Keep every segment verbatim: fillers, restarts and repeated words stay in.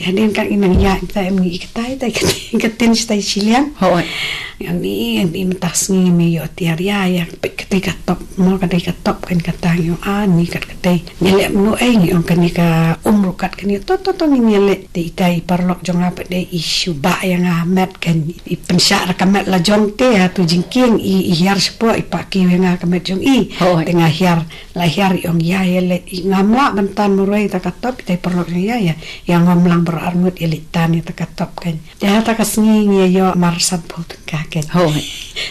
Hadien ka ngi nang ïa, ita em ngi ïa katai, tai katai, katin shatai shiliang. Hooid. Ngi, ngi mynta sngi ngi ïoh tiar ïa, ïa, peit katai ka top, mo katai ka top kan kata ngi ong, ah, ngi kat katai. Ngi leh mano ei ngi ong kane ka um ruh kat kane, to, to, to, ngi leh. Te itai paralok jong nga pat de i shu ba ïa nga met kan, i pynshah da ka met la jong te, ha tu jingkieng i, i hiar shapoh, i pah kiew ïa nga ka met jong i. Hooid. Te nga hiar, la hiar i ong ïa, ïa leh, i ngam lah ban tan marwei ta ka top, itai paralok jong ïa, ïa, ïa ngam lang baroh arngut ïa leh tan ïa ta ka top kan. Te ha ta ka sngi ngi ïa ïoh mar sanphew tyngka kan. Hooid.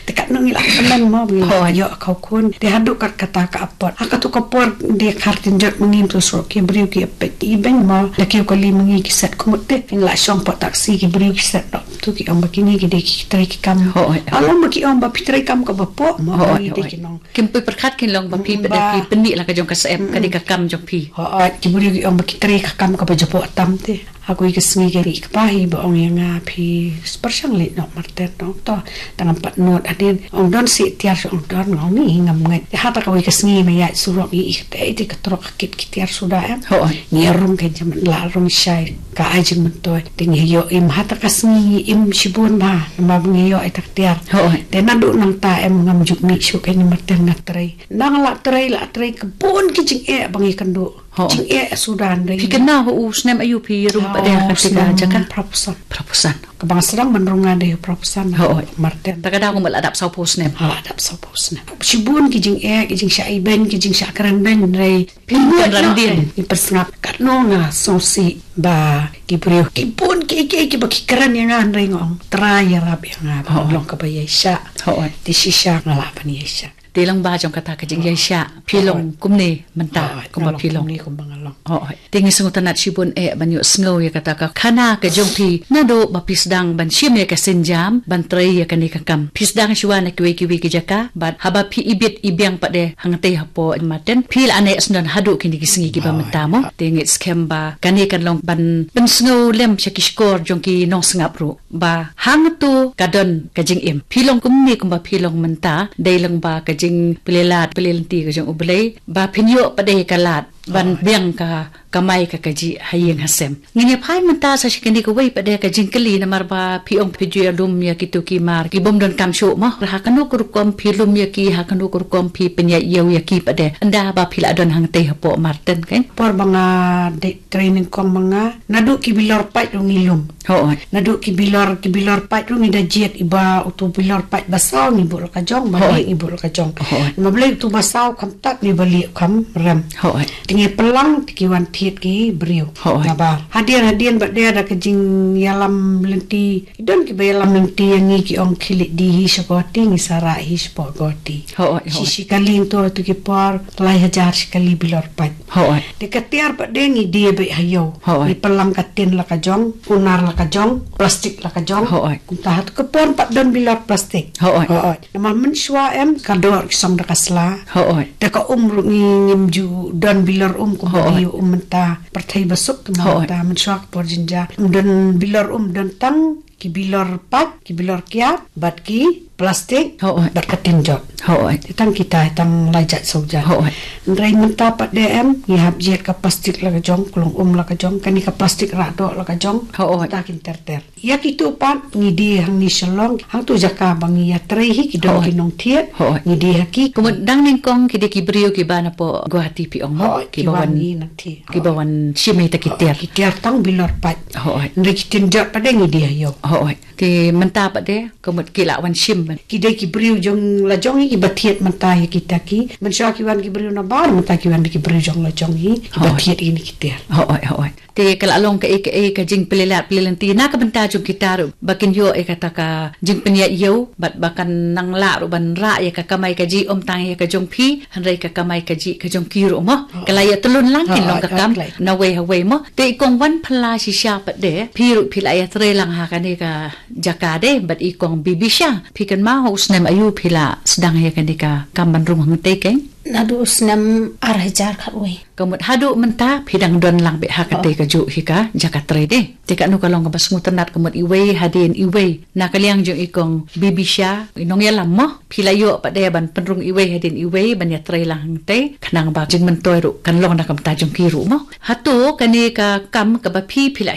Te katno ngi la kmen mo, ngi la Hooid. Ïoh khaw khun. Te haduh kat kata ka apot. Ha katu ka por de khar tin jot ma ngi tu sro ki briew ki peit i beiñ mo. Da kiew kali ma ngi ki set kumut te. Ngi la shong pat taxi ki briew ki set dok. Tu ki ong ba kini ki de ki trei ki kam. Hooid. Along ba ki ong ba phi trei kam kaba poh mo. Hooid, ngi de hooid. Ki nong. Kim pyrkhat kin long ba phi Ba. Pynda ki pynmih la ka jong ka syep, ka de ka kam jong phi. Hooid, ki briew ki ong ba ki trei ka kam kaba japoh tam te. Ha kawei ka sngi ka ri ka pa hi ba ong ïa nga phi pyrshang leh noh Martin noh to. Tang pat not hadien ong don si tiar shu ong don ngong ni ngam ngai. Ha ta kawei ka sngi ma ïa surok i i te i te ka trok ka kit ki tiar suda em. Hooid. Ngi rung ka jam la rung shai ka ai jingmyntoi. Te ngi ïoh im ha ta ka sngi ngi im shibun ba. Namar ba ngi ïoh i ta ka tiar. Hooid. Te naduh nangta em ngam ju mih shuh ka ni Martin nga trei. Nang la trei, la trei ka bun ki jingeh ba ngi kynduh. Ho. Jingeh suda ngi. Phi kynmaw u snem aïu phi rung pat de ha kata ka jaka? Phra phew san. Phra phew san. Kaba nga sdang ban rung nga de phra phew san. Ho. Martin. Ta ka daw kumba la dap saw phew snem. Ha, la dap saw phew snem. Shibun ki jingeh, ki jingshah ibeiñ, ki jingshah kren beiñ, hynrei phi ngut kan ran dien. Ngi pyrsngap katno nga sngewsih ba ki briew ki bun ki ki ki ba ki kren ïa nga hynrei nga ong Trai ïarap ïa nga ba long kaba ïaishah. Ho. Te shisha nga lah ban ïaishah. Te long ba jong kata ka jingïaishah phi long kumne mynta kumba phi long. Kumne kumba nga long. Ho. Te ngi sngewtynnat shibun eh ban ïoh sngew ïa kata ka khana ka jong phi naduh ba phi sdang ban shim ïa ka sienjam ban trei ïa kane ka kam. Phi sdang shuwa na kiwei kiwei ki jaka bad haba phi ibit ibiang pat de hangtei hapoh Martin phi la neh sngewdon haduh kine ki sngi kiba mynta mo. Te ngi skhem ba kane kan long ban pynsngew lem sha ki shkor jong ki nongsngap ruh. Ba hangto ka don ka jingim. Phi long kumne kumba phi long mynta, dei long ba ka jingpyllait pyllait lynti ka jong U Blei, ba phin ïoh pat de ka lad ban biang ka kamai ka kajih ha ïing ha sem. Ngin ïa phai mynta sa sha kane kawei pat de ka jingkylli namar ba phi ong phi ju ïa lum ïa kito ki mar ki bym don kam shuh mo. Ha kano ka rukom phi lum ïa ki, ha kano ka rukom phi pynïaid ïew ïa ki pat de. Ynda ba phi la don hangtei hapoh Martin kan. Por ba nga dei training kong ma nga. Naduh ki bilor pait ruh ngi lum. Hooid. Naduh ki bilor, ki bilor pait ruh ngi da jied iba utu bilor pait ba saw ngi buh la ka jong, ba lieh ngi buh la ka jong. Hooid. Ma balei utu ba saw kham tat ngi ba lieh kham rem. Hooid. Te ngi pynlang te ki wan thied ki briew. Hooid. Nabar. Hadien, hadien ba dei da ka jingïalam lynti. Ki don kiba ïalam lynti ïa ngi ki ong khie leit die hi sha Guwahati ngi sa rah hi shapoh Guwahati. Hooid, hooid. Shi shi kali nto tu ki por lai hajar shi kali bilor pait. Hooid. Te ka tiar pat de ngi die beit ha ïew. Hooid. Ngi pynlang ka tin la ka jong, unar la ka jong, plastik la ka jong. Hooid. Kumta ha tu ka por pat don bilor plastik. Hooid. Hooid. Namar mynshuwa em ka dor ki song da ka sla. Hooid. Te ka um ruh ngi ngim ju don bilor um kumba ngi um mynta pyrthei ba suk kumba mynta mynshuwa ka por jynjar. Ym don bilor um don tang ki bilor pait, ki bilor kiad, bad ki plastik, bad ka tin jot. Hooid. Te tang kita, tang lai jait saw jait. Hooid. Hynrei mynta pat de em, ngi hap jied ka plastik la ka jong, ka long um la ka jong, kane ka plastik rah doh la ka jong. Hooid. Ta kin ter ter. Ïa kitu pat, ngi die hangne Shillong, hangtu jaka ba ngi ïa trei hi, ki don ki nongthied, ngi die ha ki. Kumut dang nyngkong ki dei ki briew kiba napoh Guwahati phi ong. Hooid, kiba wan ngi nang thied. Kiba wan shim ïa kita ki tiar. Ki tiar tang bilor pait. Hooid. Hynrei ki tin jot pat de ngi die ha ïew. Hooid. Te mynta pat de, kumut ki la wan shim. Ki dei ki briew jong la jong hi kiba thied mynta ïa kita ki. Mynshuwa ki wan ki briew nabar, mynta ki wan ki briew jong la jong hi kiba thied ïa kine ki tiar. Hooid, hooid. Te ka la long kaei kaei ka jingpyllait pyllait lynti na ka bynta jong kita ruh ba kin ïoh ïa kata ka jingpynïaid ïew bad ba kan nang lah ruh ban rah ïa ka kamai kajih ym tang ïa ka jong phi hynrei ka kamai kajih ka jong ki ruh mo. Ka la ïa tylun lang kin long ka kam na wei ha wei mo. Te i kong wan phylla shisha pat de phi ruh phi la ïa trei lang ha kane ka jaka de bad i kong Bibisha. Phi kynmaw ha u snem aïu phi la sdang ïa kane ka kam ban rung hangtei keiñ? Naduh u snem ar hajar khatwei. Kumut haduh mynta phi dang don lang beit ha katei kajuh hi ka jaka trei de. Te kano ka long kaba sngewtynnat kumut iwei hadien iwei. Na ka liang jong i kong Bibisha, i nongïalam mo. Phi la ïoh pat de ban pynrung iwei hadien iwei ban ïa trei lang hangtei. Khnang ba jingmyntoi ruh kan long na ka bynta jong ki ruh mo. Hato kane ka kam kaba phi phi la